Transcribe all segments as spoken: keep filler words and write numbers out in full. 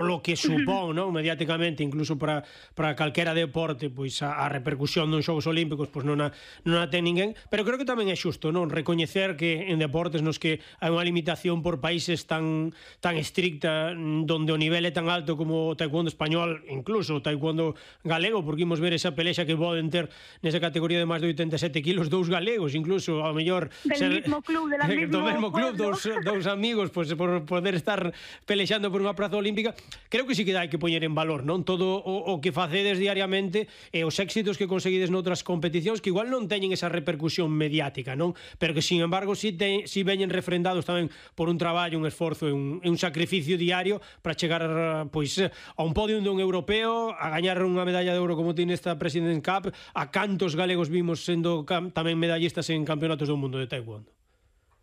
lo que supón, non, mediáticamente, incluso para, para calquera deporte, pois a, a repercusión dos Xogos Olímpicos pois non a, non a ten ninguén, pero creo que tamén é xusto, non, recoñecer que en deportes nos que hai unha limitación por países tan tan estricta, donde o nivel é tan alto como o taekwondo español, incluso o taekwondo galego, porque imos ver esa pelexa que poden ter nesa categoría de máis de oitenta e sete kilos dous galegos, incluso ao mellor del ser, mismo club, de la mismo do mesmo club, dous, dous amigos, pois por poder estar pelexando por unha praza olímpica. Creo que sí que hai que poñer en valor, non, todo o, o que facedes diariamente e os éxitos que conseguides noutras competicións que igual non teñen esa repercusión mediática, non, pero que sin embargo si, te, si veñen refrendados tamén por un traballo, un esforzo e un, e un sacrificio diario para chegar pois a un podio dun europeo, a gañar unha medalla de ouro como tiene esta President's Cup, a cantos galegos vimos sendo tamén medallistas en campeonatos do mundo de taekwondo.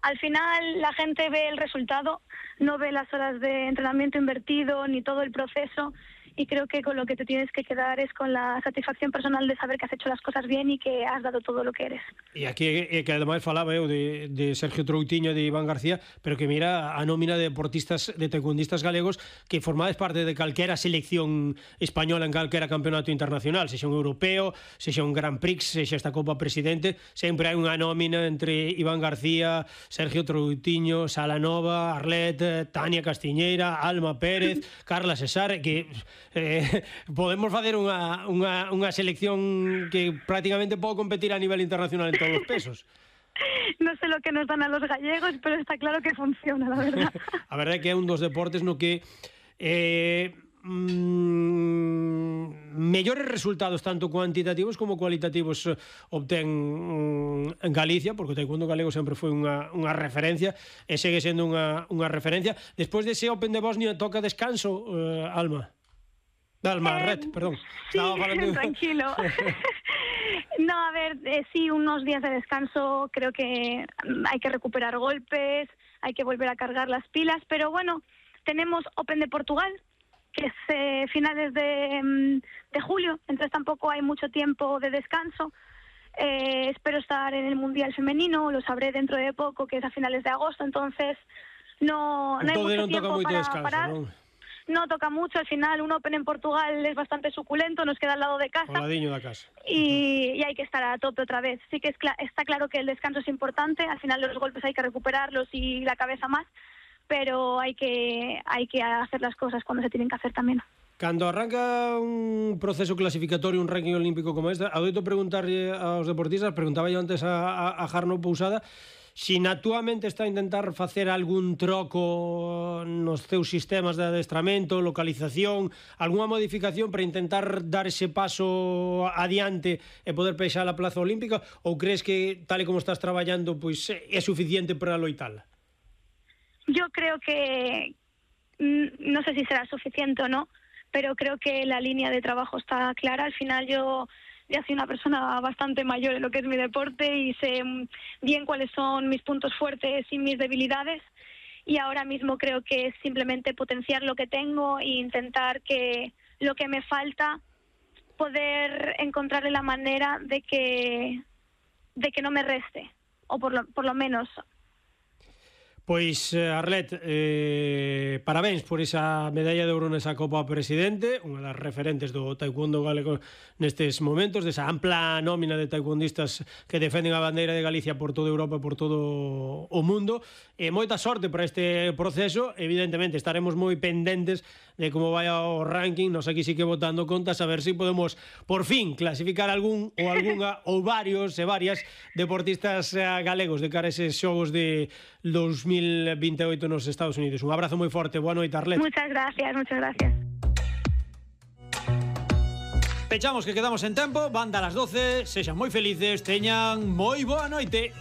Al final la gente ve el resultado, no ve las horas de entrenamiento invertido ni todo el proceso, y creo que con lo que te tienes que quedar es con la satisfacción personal de saber que has hecho las cosas bien y que has dado todo lo que eres. E aquí é que ademais falaba eu de, de Sergio Troutiño e de Iván García, pero que mira a nómina de deportistas, de taekwondistas galegos que formades parte de calquera selección española en calquera campeonato internacional, sexa un europeo, sexa un Grand Prix, sexa esta Copa Presidente, sempre hai unha nómina entre Iván García, Sergio Troutiño, Salanova, Arlet, Tania Castiñeira, Alma Pérez, Carla Cesar, que eh, podemos facer unha, unha, unha selección que prácticamente pode competir a nivel internacional en todos os pesos. No sé lo que nos dan a los gallegos, pero está claro que funciona, la verdad. A verdade é que é un dos deportes no que eh, mm, mellores resultados tanto cuantitativos como cualitativos obtén mm, en Galicia, porque o taekwondo galego sempre foi unha, unha referencia e segue sendo unha, unha referencia. Despois dese Open de Bosnia toca descanso, eh, Alma. Alma, eh, Red, perdón. Sí, tranquilo. No, a ver, eh, sí, unos días de descanso, creo que hay que recuperar golpes, hay que volver a cargar las pilas, pero bueno, tenemos Open de Portugal, que es eh, finales de, de julio, entonces tampoco hay mucho tiempo de descanso. Eh, espero estar en el Mundial Femenino, lo sabré dentro de poco, que es a finales de agosto, entonces no, no hay mucho no tiempo para descanso, parar. ¿no? No toca mucho, al final un Open en Portugal es bastante suculento, nos queda al lado de casa. Al ladiño da casa. Y, y hay que estar a tope otra vez. Sí que es cl- está claro que el descanso es importante, al final los golpes hay que recuperarlos y la cabeza más, pero hay que, hay que hacer las cosas cuando se tienen que hacer también. Cando arranca un proceso clasificatorio, un ranking olímpico como este, adoito preguntarlle aos deportistas, preguntaba yo antes a, a, a Jarno Pousada, si na túa mente está a intentar facer algún troco nos teus sistemas de adestramento, localización, algunha modificación para intentar dar ese paso adiante e poder peixar a plaza olímpica, ou crees que tal e como estás traballando pois é suficiente para loitala? Yo creo que no sé si será suficiente o no, pero creo que la línea de trabajo está clara. Al final yo ya soy una persona bastante mayor en lo que es mi deporte y sé bien cuáles son mis puntos fuertes y mis debilidades, y ahora mismo creo que es simplemente potenciar lo que tengo e intentar que lo que me falta, poder encontrarle la manera de que de que no me reste, o por lo, por lo menos. Pois, Arlet, eh, parabéns por esa medalla de ouro nesa Copa Presidente, unha das referentes do taekwondo galego nestes momentos, desa ampla nómina de taekwondistas que defenden a bandeira de Galicia por toda Europa e por todo o mundo. E moita sorte para este proceso. Evidentemente estaremos moi pendentes de como vai o ranking. Nos aquí sí que botando contas a ver se si podemos por fin clasificar algún ou algunha ou varios e varias deportistas galegos de cara a eses xogos de dos mil veintiocho nos Estados Unidos. Un abrazo moi forte. Boa noite, Arlet. Muchas gracias, muchas gracias. Pechamos que quedamos en tempo. Van dar as doce. Sexan moi felices. Teñan moi boa noite.